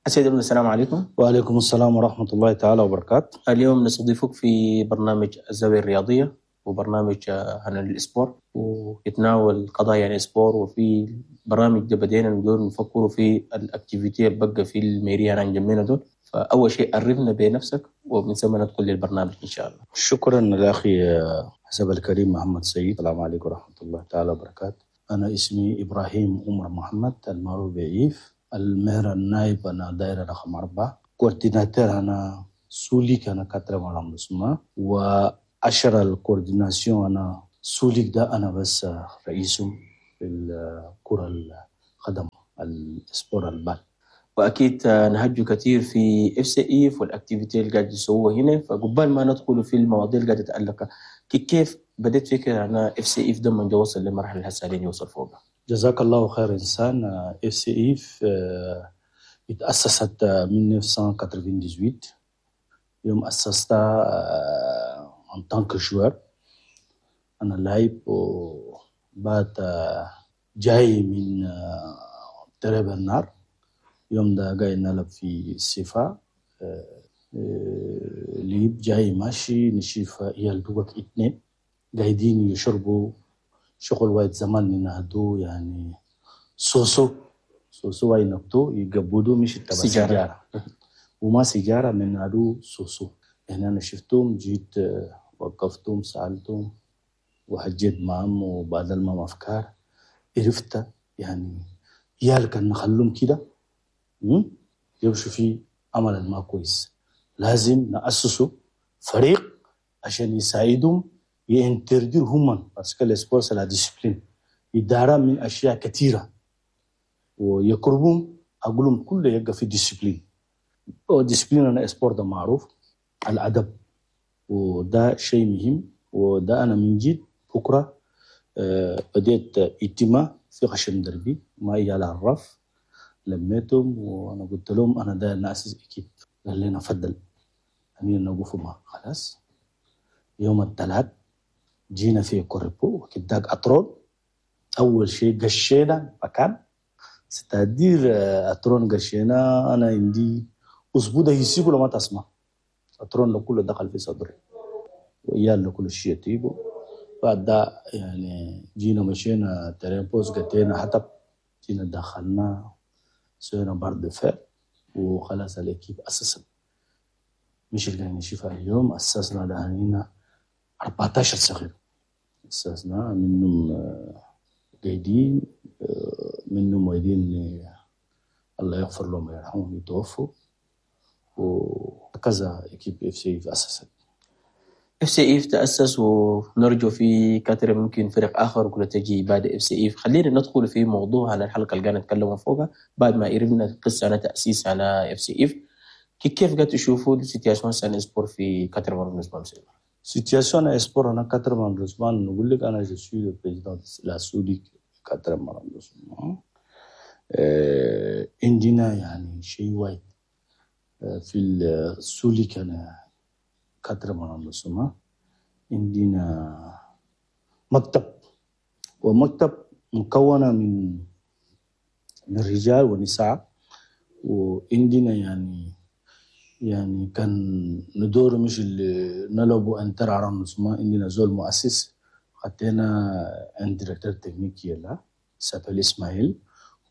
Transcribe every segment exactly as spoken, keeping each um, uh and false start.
السيد ابن، السلام عليكم. وعليكم السلام ورحمة الله تعالى وبركاته. اليوم نستضيفك في برنامج الزاوية الرياضية وبرنامج آه، عن ال sport ويتناول قضايا يعني sport. وفي برنامج ده بدينا ندور نفكروا في ال activités اللي بقى في ال mairie هنا جنبنا دول. فاول شيء عرفنا بنفسك ومن ثم ندخل للبرنامج ان شاء الله. شكرا لأخي حسب الكريم محمد سيد. السلام عليكم ورحمة الله تعالى وبركاته. أنا اسمي إبراهيم عمر محمد المعروف بعيف، ال maire النائب أنا دائرة رقم أربعة، coordinateur أنا سوليك أنا quatrième arrondissement وعشرة ال coordination أنا سوليك ده، أنا بس رئيسهم في الكرة القدم، ال sport ال balle. واكيد نهجوا كثير في FC ايف وال activités اللي قاعد يسووها هنا. فقبال ما ندخل في المواضيع اللي قاعدة تتعلق، كيف بديت فكرة انا FC ايف ده من وصل للمرحلة اللي هسه يوصل فوقها؟ جزاك الله خير انسان. FC ايف اتأسست من ألف وتسعمية وثمانية وتسعين، يوم أسستها en tant que joueur، أنا لاعب وبعد جاي من terrain برنار، يوم ده قاعد نلعب في السفا ليب، جاي ماشي نشوف عيال دوك اتنين قاعدين يشربوا شغل وايد زمان ينادوا يعني سوسو سوسو، واي نكتو يقبضوا مش تبع سيجارة. سيجارة وما سيجارة من نادو سوسو. يعني أنا شفتهم، جيت وقفتهم، سألتهم وحجيت معهم وبادل معهم أفكار، عرفت يعني عيال كان نخلوهم كده يمشوا في عمل ما كويس، لازم نأسسوا فريق عشان يساعدهم ي interdire هم، parce que le sport c'est la discipline، إدارة من أشياء كثيرة ويقربهم أقولهم كله يبقى في discipline. discipline أنا sport ده معروف الأدب، وده شيء مهم. وده أنا من جيت بكرة آه، بديت اجتماع في خشم دربي مع عيال الرف، لميتهم وانا قلت لهم انا داير ناسس équipe. قال لنا فضل امين نوقف معه. خلاص، يوم الثلاث جينا في كوربو وكداك اترون، اول شيء قشينا مكان، c'est-à-dire اترون قشينا. انا عندي اسبوع ده يسيبه لما تسمع اترون ده كله دخل في صدري وإيال كل شيء تيبو. بعد ده يعني جينا مشينا terrain poste، قتينا حطب، جينا دخلنا سوينا barre de fer وخلاص ال équipe اسست. مش اللي نشوفها اليوم، اسسنا ده أربعتاشر صغير اسسنا، منهم آه، قايدين آه، منهم وايدين آه، الله يغفر لهم ويرحمهم يتوفوا، وكذا équipe FC اسست. FC ايف تاسس ونرجو في كثر ممكن فرق اخر وكل تجي بعد FC ايف. خلينا ندخل في موضوع عن الحلقة اللي قاعد نتكلم فوقها بعد ما عرفنا القصة عن تاسيس على FC ايف. كيف قاعد تشوفوا ال situation سان sport في quatrième arrondissement؟ Situation sport en quatrième arrondissement، نقول لك أنا je suis le président de la SOULIC quatrième arrondissement. آه، عندنا يعني شيء وايد آه، في السوليك أنا quatrième arrondissement عندنا مكتب، ومكتب مكونة من من رجال ونساء، وعندنا يعني يعني كان ندور مش اللي نلعبوا inter arrondissement، عندنا زول مؤسس، خدينا un directeur technique يلا s'appelle اسماعيل،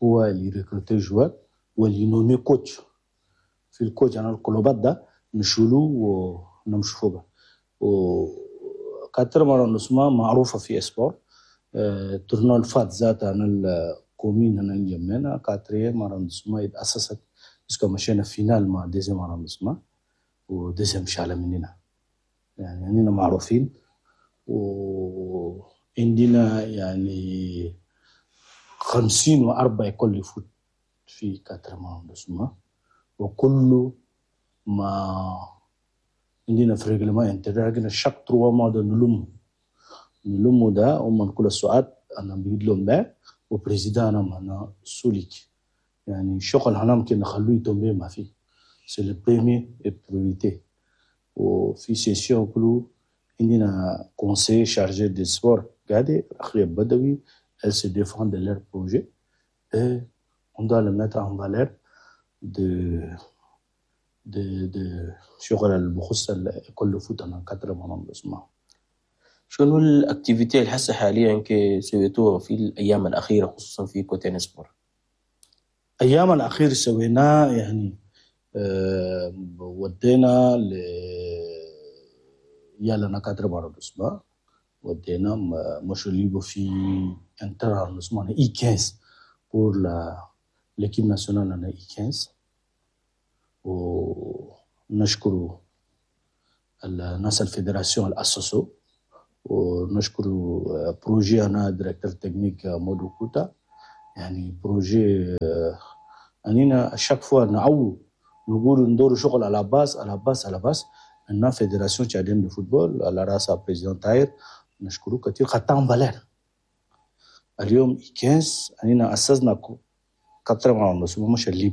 هو اللي recruter joueurs واللي nommer coach. في ال coach انا الكلوبات ده نشولو ونمشوا فوق. و quatrième arrondissement معروفة في sport. آه، tournoi الفات ذات انا ال commune هنا نجمنا quatrième arrondissement اتأسست parce que مشينا finale مع deuxième arrondissement و deuxième شالة مننا. يعني عندنا معروفين وعندنا يعني خمسين وأربعة écoles de foot في quatrième arrondissement، وكل ما عندنا في règlement intérieur عندنا chaque trois mois ده نلم نلم ده هم كل السؤال انا بيجي لهم ده و président انا معنا سوليك، يعني شغل هنا ممكن نخلوه يتم ما فيه، c'est le premier priorité. وفي session كله عندنا conseil chargé de sport قاعد أخي بدوي، elle se défend de leur projet et on doit le mettre en valeur. de de de شغل اللي بخص école de foot هنا quatrième arrondissement. شنو ال activités اللي هسه حاليا كي سويتوها في الايام الاخيرة خصوصا في côté sport؟ ايام الاخير سويناه يعني آه ودينا ل يلا quatrième arrondissement، ودينا مشوا ليبو في inter arrondissement U quinze pour la l'équipe nationale هنا U quinze، ونشكر الناس ال fédération اللي اسسوا، ونشكر projet هنا directeur technique مودو كوتا. يعني projet انينا chaque fois نعو نقول ندور شغل à la base à la base à la base عندنا fédération tchadienne de football على راسها président تاير، نشكره كثير خطا en valeur. اليوم خمسة عشر انينا اسسنا quatrième arrondissement مش الليبي.